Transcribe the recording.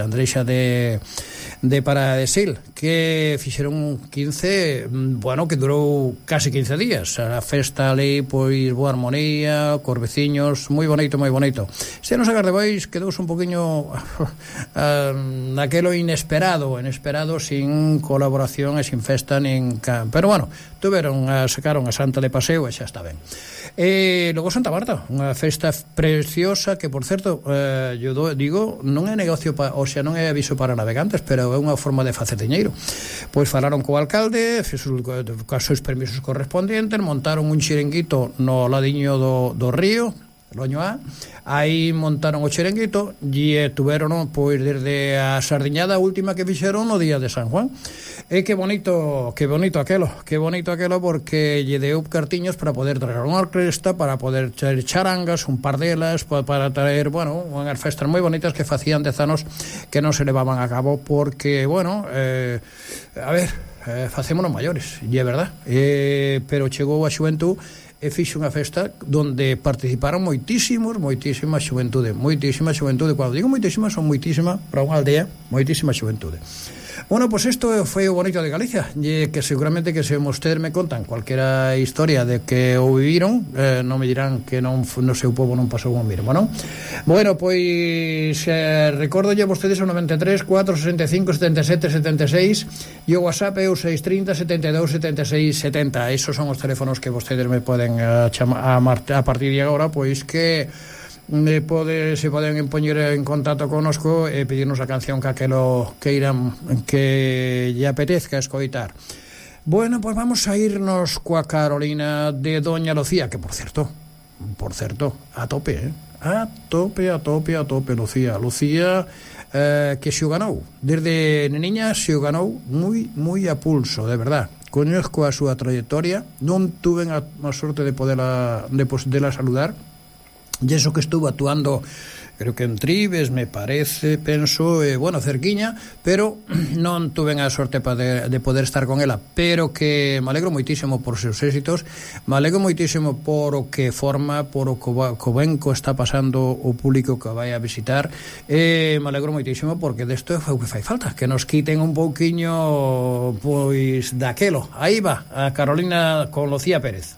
Andreixa de Paradesil, que fixeron un 15, bueno, que durou casi 15 días. A festa ali, pois, boa armonía, cos veciños, moi bonito, moi bonito. Se non sacar de bois, quedouse un poquinho naquelo inesperado, sin colaboración e sin festa, pero bueno, sacaron a Santa de paseo e xa está ben. E logo Santa Marta, unha festa preciosa que, por certo, yo digo, non é negocio non é aviso para navegantes, pero é unha forma de facer diñeiro. Pois falaron co alcalde, cos seus permisos correspondientes, montaron un chiringuito no ladiño do río Loño A, aí montaron o chiringuito e tuveron, pois, desde a sardiñada última que fixeron no día de San Juan. E que bonito aquelo, porque lle deu cartiños para poder traer unha orquesta, para poder traer charangas, un par delas, para traer, bueno, unhas festas moi bonitas que facían 10 anos que non se levaban a cabo, porque, bueno, facémonos maiores, e é verdad, pero chegou a xuventud e fixo unha festa onde participaron moitísima xuventude. Cando digo moitísima, son moitísima para unha aldea, moitísima xuventude. Bueno, pois isto foi o bonito de Galicia, e que seguramente que se vostedes me contan cualquera historia de que o viviron, non me dirán que no seu povo non pasou o mesmo, non? Bueno, pois recordo a vostedes o 93 465 77 76 e o WhatsApp é o 630 72 76 70. Esos son os teléfonos que vostedes me poden chamar a partir de agora, pois que se poden poñer en contacto connosco e pedirnos a canción que aquelo queiran que lle apetezca escoitar. Bueno, pois vamos a irnos coa Carolina de Doña Lucía, que por certo, a tope, a tope Lucía, que se o ganou desde neniña, se o ganou moi a pulso, de verdad. Coñezco a súa trayectoria, non tuve a sorte de poderla saludar. E eso que estuvo actuando, creo que en Tribes, me parece, penso, bueno, cerquiña, pero non tuve a sorte de poder estar con ela, pero que me alegro moitísimo por seus éxitos, me alegro moitísimo por o que forma, por o que benco está pasando o público que vai a visitar, me alegro moitísimo porque desto é o que fai falta, que nos quiten un pouquiño, pois, daquelo. Aí va, a Carolina con Lucía Pérez.